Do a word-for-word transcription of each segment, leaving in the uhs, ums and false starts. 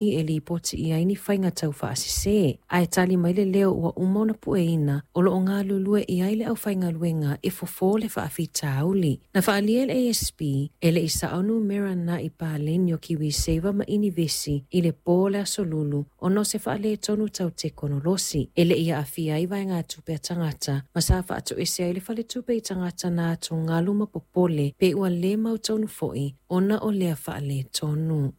E lipoti i ai ni faiga taufaasese ae tali mai le leo ua uma ona pueina o loo galulue i ai le aufaigaluega e fofo le faafitauli. Na faaalia e le A S P e le i sao numera na i paleni o KiwiSaver ma Inivesi i le po o le aso Lulu ona o se faaletonu tau tekonolosi. E le i aafia ai vaegatupe a tagata ma sa faatoese ai le faletupe i tagata na atugalu ma popole pe ua le mautonu foi ona o lea faaletonu.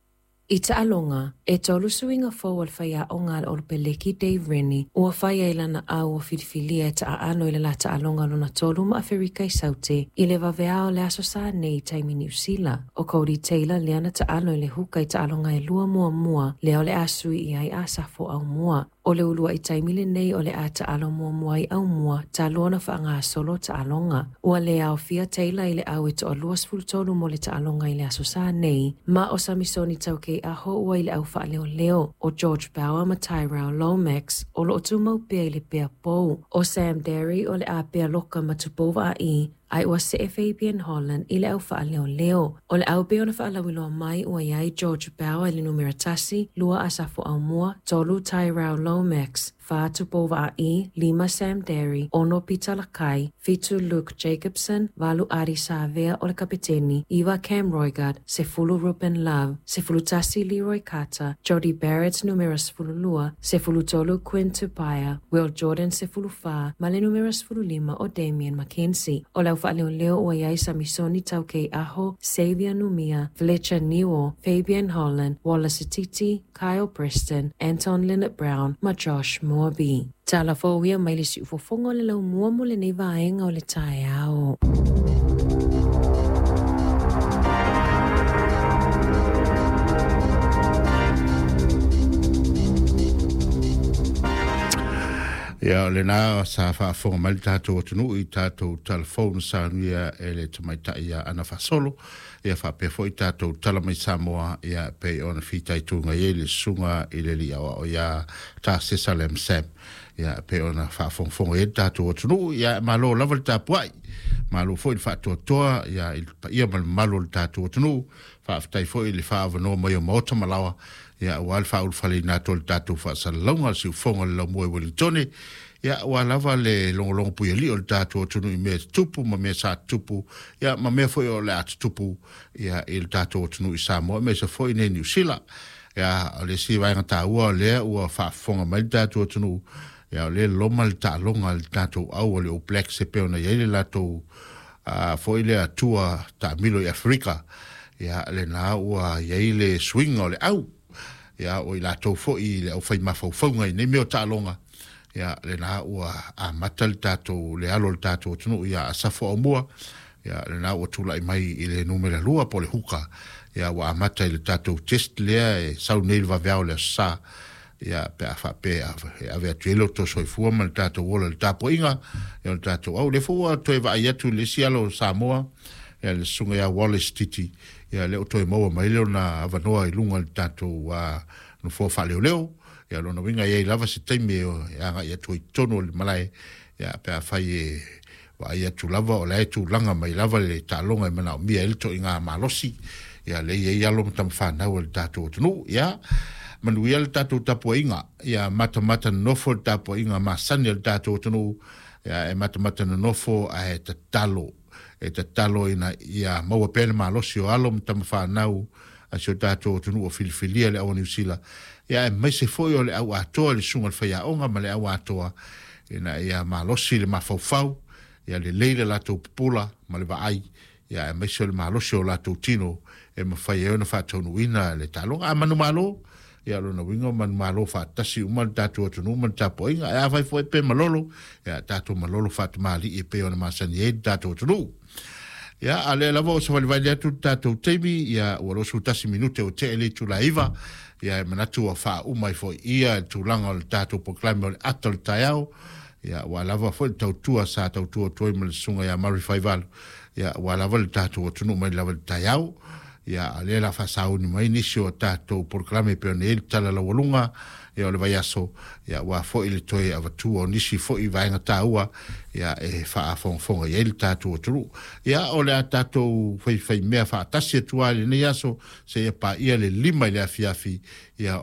I taaloga, e tolu suiga fou o le faiaoga a le Olopeleki Dave Rennie, ua fai ai lana au o filifilia e taaalo i le la taaloga lona tolu ma Aferika i Saute i le vaveao o le aso sa nei i taimi Niu Sila. O Cody Taylor lea na taalo i le huka i taaloga e lua muamua lea o le a sui i ai Asafo Aumua. O le ulua i taimi lenei o le a taalo muamua i Aumua talu ona faagasolo taaloga. Ua le aofia Taylor i le au e toalua sefulu tolu mo le taaloga i le aso sa nei, ma o Samisoni Taukei Aho ua i le au faaleoleo, o George Bauer ma Tyrell Lomax o loo tumau pea i le pea pou, o Sam Darry o le a pea loka ma Tupou Vaa'i, ai ua see Fabian Holland i le au faaleoleo. O le au pea ona faalauiloa mai ua iai George Bauer i le numera tasi, lua Asafo Aumua, tolu Tyrell Lomax, fa Tupou Vaa'i, lima Sam Darry, ono Peter Lakai, fitu Luke Jacobson, valu Adi Savea o le kapiteni, iwa Cam Roigard, sefulu Ruben Love, sefulu tasi Leroy Carter, Jody Barrett numera sefulu lua, sefulu tolu Quinn Tupaea, Will Jordan sefulu fa, ma le numera sefulu lima o Damien McKenzie. O le au faaleoleo ua iai Samisoni Taukei Aho, Xavier Numia, Fletcher Newell, Fabian Holland, Wallace Titi, Kyle Preston, Anton Lienert-Brown ma Josh Moorby. Tala fou ia mai le siufofoga o le laumua mo lenei vaega o le taeao. Ia o lena sa faafofoga mai le tatou atunuu i tatou telefone saunia e le tamaitai ia Ana Fasolo, ia faapea foi tatou tala mai Samoa, ia pei ona fitaituga i ai le susuga i le alii aoao ia Tasesa Lam Sam, ia pei ona faafogafoga i ai le tatou atunuu. Ia malo lava le tapuai, malo foi le faatoatoa ia i le paia ma le mamalu o le tatou atunuu. Faafetai foi i le faaavanoa mai o maota ma laoa, ia ua le faaulufaleina atu o le tatou faasalalauga o le siufofoga o le laumua i Wellingtone, ia ua lava le logologo puialii o le tatou atunuu i mea tutupu ma mea sa tutupu, ia ma mea foi o le a tutupu ia i le tatou atunuu i Samoa aemaise foi nei Niu Sila. Ia o le isi vaega taua o lea ua faafofoga mai le tatou atunuu, ia o lea loma le taaloga a le tatou au o le All Blacks e pei ona i ai le latou foi lea atua taamilo i Aferika. Ia lena ua i ai le suiga o le au, ia o i latou foi i le aufai mafaufauga i nei mea o taaloga. Ia lena ua amata le tatou le alo o le tatou atunuu ia Asafo Aumua, ia lena ua tulai mai i le numera lua po o le huka, ia ua amata i le tatou test lea e sau nei le vaveao le aso sa, ia pe a faapea e ave atu ai le outou soifua ma le tatou ola i le tapuaiga, ia o le tatou au. Lea foi ua toe vaai atu i le isi alo o Samoa, ia le susuga ia Wallace Titi, ia lea ua toe maua mai le ona avanoa i luga o le tatou nofoa faaleoleo. Ia lona uiga e i ai lava se taimi e agai atu ai i totonu o le malae, ia pe a fai e vaai atu lava o la e tulaga mai lava le taaloga e manaomia ai le toiga malosi, ia lea e i ai alo ma tamafanau a le tatou atunuu. Ia manuia le tatou tapuaiga, ia matamata nonofo le tapuaiga masani a le tatou atunuu, ia e matamata nonofo ae tatalo, e tatalo ina ia maua pea le malosi o alo ma tamafanau a si o tatou atunuu o filifilia le au a Niu Sila, ia aemaise foi o le au atoa le susuga i le faiaoga ma le au atoa, ina ia malosi le mafaufau, ia lelei le latou pupula ma le vaai, ia aemaise o le malosi o latou tino e mafai ai ona faataunuuina le taaloga. A manumalo, ia lona uiga o manumalo faatasi uma le tatou atunuu ma le tapuaiga. Ae afai foi pe malolo, ia tatou malolo faatamalii e pei ona masani ai le tatou atunuu. Ia a lea lava o savalivali atu le tatou taimi, ia ua losu tasi minute o tee le itula iva, ia e manatu ua faauma ai foi ia le tulaga o le tatou polokalame o le ata o le taeao, ia ua lava foi le tautua sa tautua atu ai ma le susuga ia Murray Faivalu, ia ua lava le tatou atunuu mai lava le taeao. Ia a lea la faasauni mai nisi o tatou polokalame pe ona i ai le tala laualuga ia o le vaiaso ia ua fo'i le toe avatua o nisi fo'i vaega taua ia e faafogafoga i ai le tatou atunuu. Ia o le a tatou faifaimea faatasi atu ai lenei aso seia paia le lima i le afiafi ia.